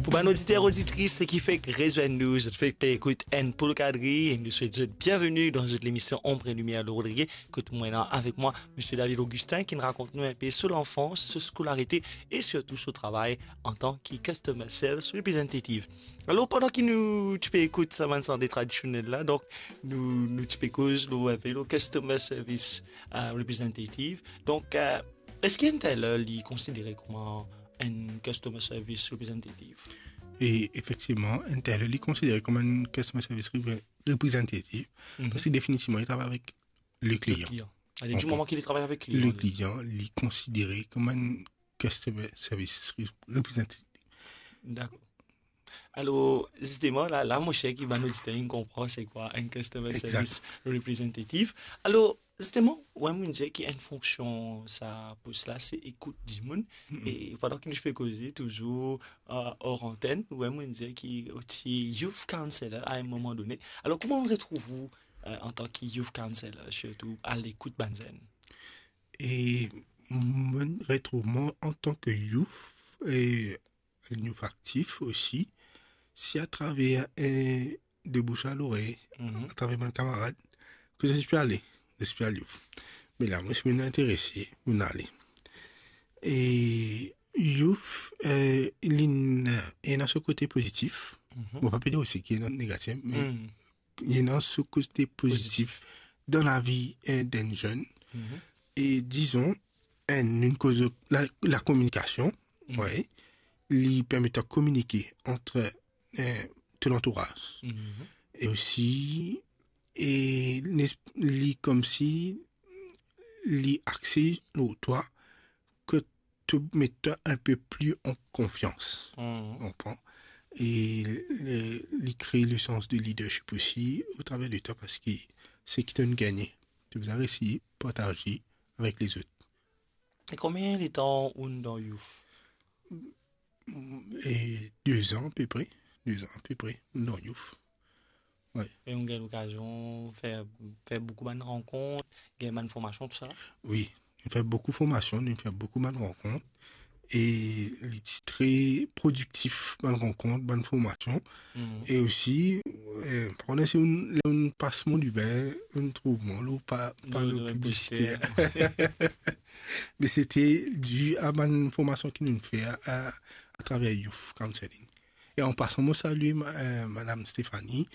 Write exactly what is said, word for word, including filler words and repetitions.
Pou bann oditer, oditris ki fek rezwenn nou, zot fek pe ekout Enn Poul Kadri, e nou swet zot bienveni dan zot lemision Ombre Limier le Rodrigué. Kot mwa la avek mwa, Misie David Augustin, ki rakont nou inpe so lanfans, so skolarite e sirtou so travay antan ki Customer Service Representative. Alor, pandan ki nou ti pe ekout sa bann sante tradisionel la, donk nou, nou ti pe koz lor, inpe lor Customer Service, euh, Representative. Donk, euh, eski enn teler li konsidere kouma enn Customer Service Representative? E efektivman, enn teler li konsidere kouma enn Customer Service Repre-, Representative, Mhm. parski definitivman, li travay avek le Le klian. klian. Ale, di Konpran. moman ki li travay avek klian, Le li. klian, li konsidere kouma enn Customer Service Re-, Representative. Dakor. Alor, zisteman, la, la, mo sir ki bann oditer inn konpran se kwa enn Customer Exact. Service Representative. Alor, zisteman, ou mem dir ki enn fonksion sa pos la, se ekout dimoun. Mm-mm. E pandan ki nou pe koze touzour, euh, or antenn, ou mem dir ki ou ti youth counselor a enn moman done. Alor, kouma ou retrouv ou, euh, antan ki youth counselor, sirtou a lekout bann zenn? E mo retrouv mwa antan ki youth, e enn youth aktif osi, se atraver, eh, de bouche a lorey, Mhm. atraver bann kamarad, ki zot ti pe ale, zot ti pe al youth. Me la, mwa, si mo interese, mo ale. E youth, eh, li ena, ena so kote pozitif. Mhm. Mo pa pe dir osi ki ena negatif, me Mhm. li ena so kote pozitif Pozitif. dan lavi, eh, d'enn zenn. Mhm. E dizon, enn, nou koz la, la kominikasion, Mhm. wi, li permet twa kominike ant, eh, to lantouraz. Mhm. E osi, e nes-, li koumsi, li axe lor twa, ki to met twa inpe pli an konfians. Mhm. Konpran? E li, li kre le sans de leadership osi, atraver de twa, parski seki to'nn gagne, to bizin resi partaze avek lezot. E konbien letan ou dan youth? E de zan apepre, de zan apepre, dan youth. Wi. E ou gagn lokazion fer, fer boukou bann rankont, gagn bann formasion, tousala? Wi, nou fer boukou formasion, nou fer boukou bann rankont, e li ti tre prodiktif, bann rankont, bann formasion. Mhm. E osi, eh, par exemple, si ou, ou pas mo liber, ou trouv mwa, ou pa, pa Lor, lor lor piblisite. Poster. Me se ti di a bann formasion ki nou fer a, a, atraver Youth Counseling. E an pasan, mo salie ma-, eh, Madam Stéphanie,